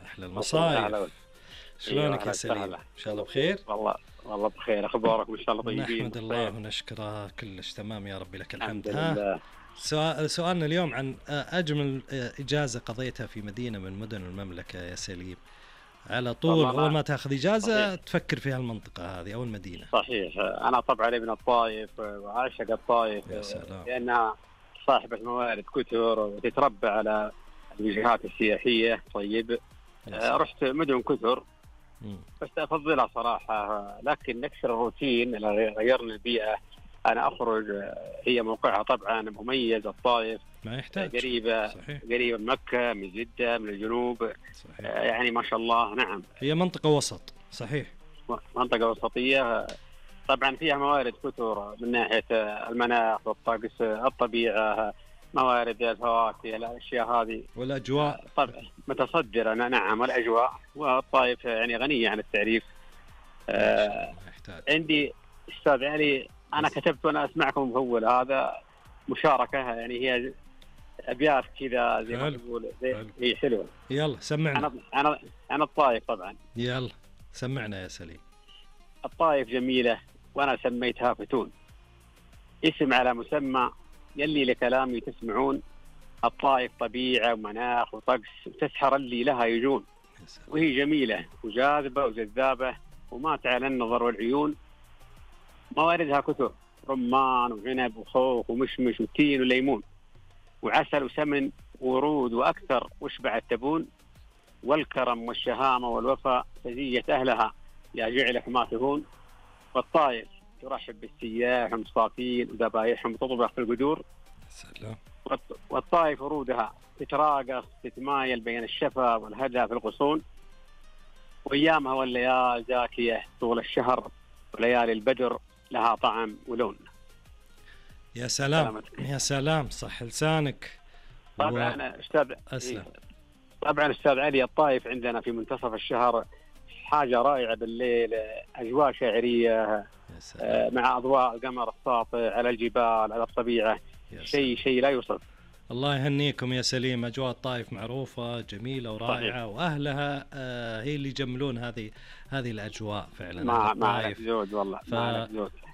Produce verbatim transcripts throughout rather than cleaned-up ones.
أحلى المصايف. شلونك يا سليم؟ إن شاء الله بخير؟ والله والله بخير، أخبارك إن شاء الله طيبين؟ نحمد الله ونشكره، كلش تمام يا ربي لك الحمد. ها سؤال سؤالنا اليوم عن أجمل إجازة قضيتها في مدينة من مدن المملكة يا سليم. على طول أول ما تأخذ إجازة صحيح. تفكر في هالمنطقة هذه أو المدينة. صحيح، أنا طبعا ابن الطائف وعاشق الطائف لأنها صاحبة موارد كثر وتتربى على الوجهات السياحية. طيب رحت مدن كثر بس أفضلها صراحة، لكن نكسر الروتين، غيرنا البيئة. أنا أخرج، هي موقعها طبعا مميز، الطائف ما يحتاج، قريبة صحيح. قريبة من مكة، من جدة، من الجنوب، صحيح. يعني ما شاء الله. نعم، هي منطقة وسط، صحيح، منطقة وسطية. طبعا فيها موارد كثر من ناحية المناخ والطقس، الطبيعة، موارد الفواكه، الأشياء هذه والأجواء طبعا متصدرة. نعم، والأجواء. والطائف يعني غنية عن التعريف. آه عندي أستاذ علي، أنا كتبت وأنا أسمعكم مفول، هذا مشاركة يعني، هي أبيات كذا زي ما تقول، هي حلوة. يلا سمعنا. أنا أنا أنا الطائف طبعا. يلا سمعنا يا سليم. الطائف جميلة وأنا سميتها فتون، اسم على مسمى يلي لكلامي تسمعون. الطائف طبيعة ومناخ وطقس وتسحر اللي لها يجون، وهي جميلة وجاذبة وجذابة وما تعلى النظر والعيون. مواردها كثر، رمان وعنب وخوخ ومشمش وتين وليمون وعسل وسمن ورود وأكثر، واشبع التبون. والكرم والشهامة والوفاء سجية أهلها، يا جعلك ما تهون. والطائف ترحب بالسياح ومصافين وذبايحهم وتطبخ في القدور. سلام. والطائف ورودها تتراقص تتمايل بين الشفا والهدى في الغصون. وأيامها والليال زاكية طول الشهر، وليالي البدر لها طعم ولون. يا سلام سلامتك. يا سلام، صح لسانك. طبعا و... أستاذ أسلم. طبعا أستاذ علي، الطائف عندنا في منتصف الشهر حاجة رائعة بالليل، أجواء شاعرية مع أضواء القمر الساطع على الجبال على الطبيعة، شيء شيء لا يوصف. الله يهنيكم يا سليم. أجواء الطائف معروفة جميلة ورائعة، وأهلها آه هي اللي يجملون هذه هذه الأجواء فعلا. مع مع زود والله. ف...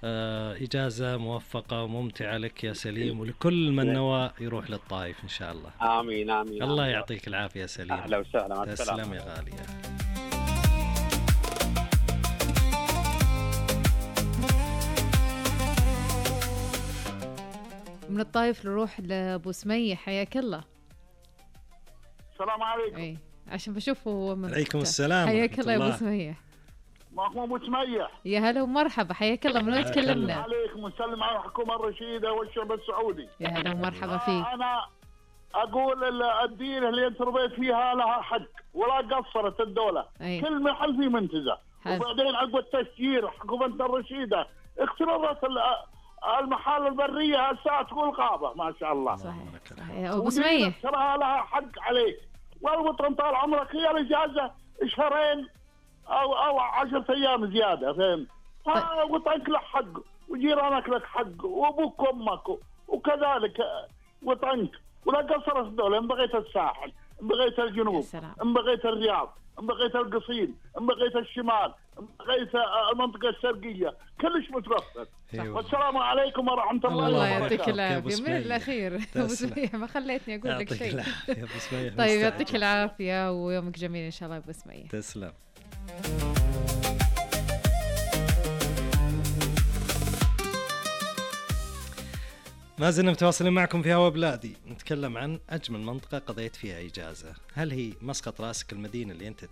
آه إجازة موفقة وممتعة لك يا سليم، ولكل من نوى يروح للطائف إن شاء الله. آمين آمين. الله يعطيك العافية يا سليم. أهلا وسهلا. تسلم يا غالي. من الطائف نروح لأبو سمية، حياك الله. السلام عليكم. اي عشان بشوفه من عليكم السلام. حياك الله يا أبو سمية. معكم أبو سمية. يا هلا ومرحبا، حياك الله. من وين تكلمنا؟ عليكم ونسلم على الحكومة الرشيدة والشعب السعودي. يا هلا ومرحبا فيك. أنا أقول الدين اللي أنت ربيت فيها لها حق، ولا قصرت الدولة. أي. كل محل في منتزه. وبعدين عقب التسجيل حكومة الرشيدة اختربت المحال البرية هسه تقول غابة، ما شاء الله. صحيح صحيح. أبو سمية ترى لها حق عليك، والوطن طال عمرك هي الإجازة شهرين أو أو عشرة أيام زيادة، فهم؟ ها وطنك له حق، وجيرانك لك حق، وأبوك وأمك، وكذلك وطنك. ولا قصرت الدولة، إن بغيت الساحل، إن بغيت الجنوب، إن بغيت الرياض، إن بغيت القصيم، إن بغيت الشمال، إن بغيت المنطقة الشرقية، كلش متوفر. والسلام عليكم ورحمة الله وبركاته. الله يعطيك العافية. من الأخير أبو سمية، ما خليتني أقول لك شيء. طيب يعطيك العافية ويومك جميل إن شاء الله أبو سمية. تسلم. ما زلنا متواصلين معكم في هوا بلادي، نتكلم عن أجمل منطقة قضيت فيها إجازة. هل هي مسقط راسك المدينة اللي أنت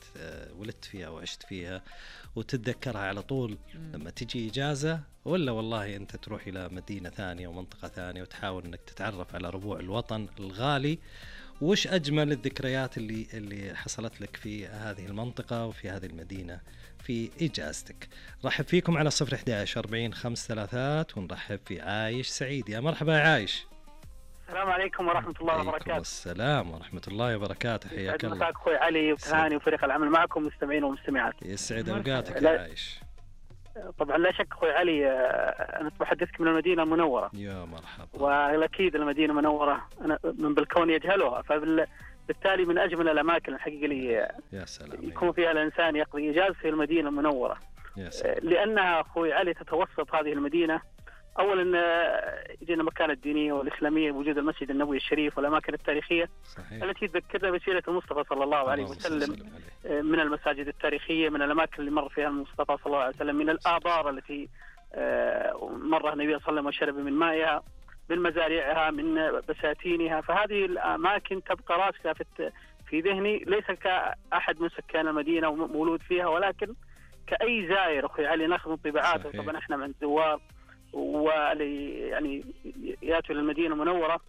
ولدت فيها وعشت فيها وتتذكرها على طول لما تجي إجازة، ولا والله أنت تروح إلى مدينة ثانية ومنطقة ثانية وتحاول أنك تتعرف على ربوع الوطن الغالي؟ وش أجمل الذكريات اللي اللي حصلت لك في هذه المنطقة وفي هذه المدينة في إجازتك؟ رحب فيكم على صفر إحدى عشر أربعين خمس ثلاثات، ونرحب في عايش سعيد. يا مرحبا يا عايش. السلام عليكم ورحمة الله وبركاته. السلام ورحمة الله وبركاته. حياك الله. مساك أخوي علي وتهاني وفريق العمل معكم مستمعين ومستمعات. يسعد أوقاتك يا عايش. طبعا لا شك أخوي علي، أنا بحدثك من المدينة المنورة. يا مرحبا. والأكيد المدينة المنورة أنا من بالكون يجهلها، فبال بالتالي من أجمل الأماكن الحقيقة اللي يكون فيها الإنسان يقضي إجازة في المدينة المنورة، لأنها أخوي علي تتوسط هذه المدينة أولا يجينا المكانة الدينية والإسلامية، وجود المسجد النبوي الشريف والأماكن التاريخية صحيح. التي تذكرنا بسيرة المصطفى صلى الله عليه وسلم، من المساجد التاريخية، من الأماكن اللي مر فيها المصطفى صلى الله عليه وسلم، من الآبار التي مر النبي صلى الله عليه وسلم وشرب من مائها، من مزارعها، من بساتينها. فهذه الأماكن تبقى راسخة في في ذهني، ليس كأحد من سكان المدينة ومولود فيها، ولكن كأي زائر أخوي علي ناخذ انطباعات. طبعا احنا من زوار واللي يعني ياتوا للمدينة المنورة،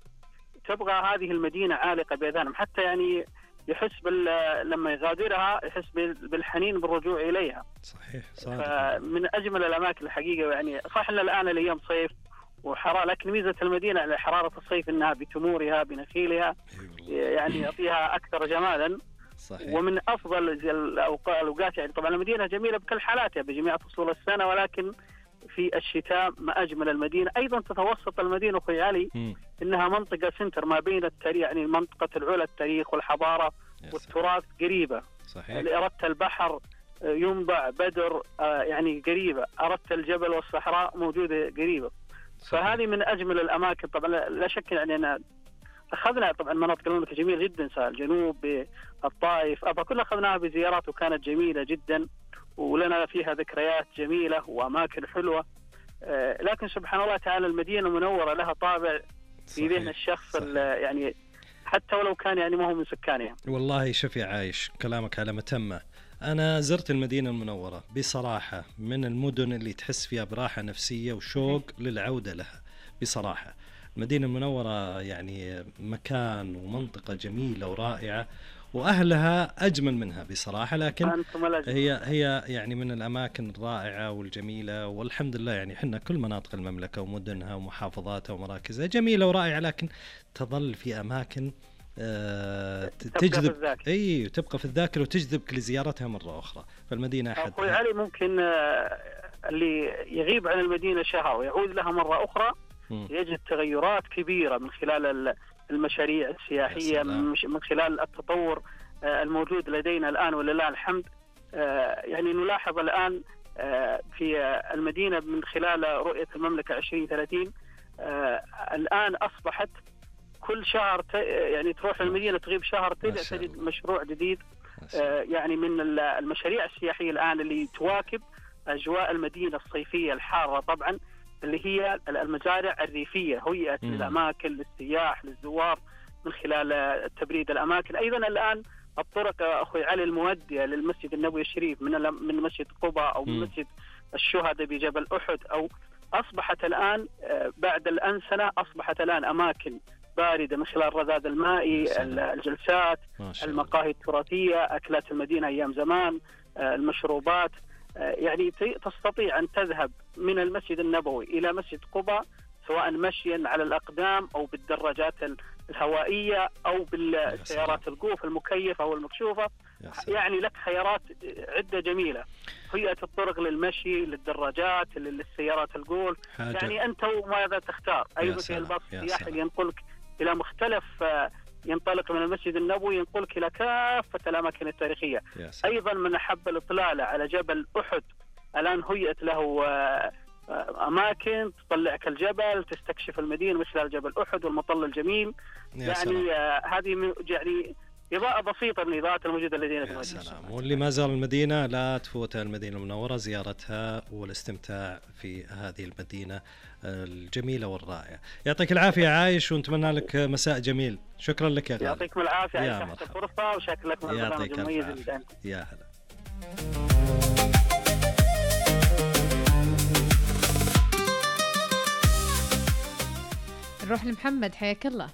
تبغى هذه المدينة عالقة بأذانهم، حتى يعني يحس بال لما يغادرها يحس بالحنين بالرجوع إليها. صحيح. من أجمل الأماكن الحقيقة. يعني صح أن الآن الأيام صيف وحرارة، لكن ميزة المدينة على حرارة الصيف أنها بتمورها بنخيلها يعني يعطيها أكثر جمالا. صحيح. ومن أفضل الأوقات يعني طبعا المدينة جميلة بكل حالاتها بجميع فصول السنة، ولكن في الشتاء ما أجمل المدينة. أيضا تتوسط المدينة أخوي علي م. إنها منطقة سنتر ما بين التاريخ، يعني منطقة العلا التاريخ والحضارة والتراث قريبة. صحيح. اللي أردت البحر ينبع بدر يعني قريبة، أردت الجبل والصحراء موجودة قريبة. صحيح. فهذه من أجمل الأماكن. طبعا لا شك يعني أنا أخذنا طبعا مناطق المملكة جميلة جدا، سواء الجنوب الطائف أبا كلها أخذناها بزيارات وكانت جميلة جدا، ولنا فيها ذكريات جميلة وأماكن حلوة. آه لكن سبحان الله تعالى المدينة المنورة لها طابع في ذهن الشخص يعني حتى ولو كان يعني ما هو من سكانها. والله شوفي عايش كلامك على متمة. أنا زرت المدينة المنورة بصراحة، من المدن اللي تحس فيها براحة نفسية وشوق للعودة لها بصراحة. المدينة المنورة يعني مكان ومنطقة جميلة ورائعة، وأهلها أجمل منها بصراحة، لكن هي هي يعني من الأماكن الرائعة والجميلة، والحمد لله يعني حنا كل مناطق المملكة ومدنها ومحافظاتها ومراكزها جميلة ورائعة، لكن تظل في أماكن آه تجذب أي تبقى في الذاكرة وتجذبك لزيارتها مرة أخرى. فالمدينة أحد أخوي علي ممكن آه اللي يغيب عن المدينة شهر ويعود لها مرة أخرى م. يجد تغيرات كبيرة من خلال المشاريع السياحية، من خلال التطور الموجود لدينا الآن ولله الحمد. يعني نلاحظ الآن في المدينة من خلال رؤية المملكة عشرين ثلاثين الآن أصبحت كل شهر يعني تروح المدينة تغيب شهر تجد مشروع جديد. يعني من المشاريع السياحية الآن اللي تواكب أجواء المدينة الصيفية الحارة طبعا، اللي هي المزارع الريفية، هيئت للأماكن للسياح للزوار من خلال تبريد الأماكن. أيضا الآن الطرق أخوي علي المؤدية للمسجد النبوي الشريف من من مسجد قباء أو من مسجد الشهداء بجبل أحد، أو أصبحت الآن بعد الأنسنة أصبحت الآن أماكن باردة من خلال الرذاذ المائي، الجلسات، المقاهي التراثية، أكلات المدينة أيام زمان، المشروبات. يعني تستطيع أن تذهب من المسجد النبوي إلى مسجد قباء سواء مشيا على الأقدام أو بالدراجات الهوائية أو بالسيارات القوف المكيفة أو المكشوفة. يعني لك خيارات عدة جميلة، هيئة الطرق للمشي، للدراجات، للسيارات القول. يعني أنت وماذا تختار. أيضا في الباص السياحي اللي ينقلك إلى مختلف، ينطلق من المسجد النبوي ينقلك إلى كافة الأماكن التاريخية. أيضا من أحب الإطلالة على جبل أحد الآن هيئت له أماكن تطلعك الجبل، تستكشف المدينة من خلال جبل أحد والمطل الجميل. يعني هذه يعني إضاءة بسيطة من الإضاءات الموجودة لدينا في المدينة. سلام. واللي ما زال المدينة لا تفوت المدينة المنورة زيارتها والاستمتاع في هذه المدينة الجميلة والرائعة. يعطيك العافية عايش، ونتمنى لك مساء جميل. شكرا لك يا غالي. يعطيكم العافية يا مرحبا. فرصة وشكرا لك من البرنامج المميز اللي عندك. يا هلا. نروح لمحمد، حياك الله.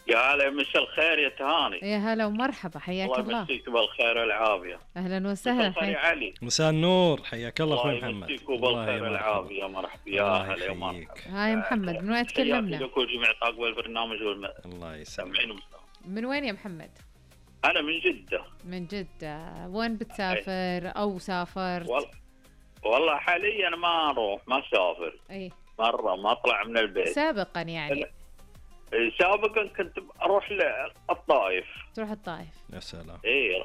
يا هلا، مساء الخير يا تهاني. يا هلا ومرحبا، حياك الله. الله يمسيك بالخير والعافية. أهلا وسهلا. مساء الخير يا علي. مساء النور، حياك الله أخوي محمد. الله يمسيك بالخير والعافية. مرحبا يا هلا يا مرحبا. هاي محمد، من وين تكلمنا؟ لكل جميع طاقم البرنامج والم... الله يسلمك. من وين يا محمد؟ أنا من جدة. من جدة. وين بتسافر أو سافرت؟ وال... والله حاليا ما أروح، ما أسافر. أي. مرة ما أطلع من البيت. سابقا يعني. سابقا كنت اروح للطائف. تروح الطائف؟ يا سلام. اي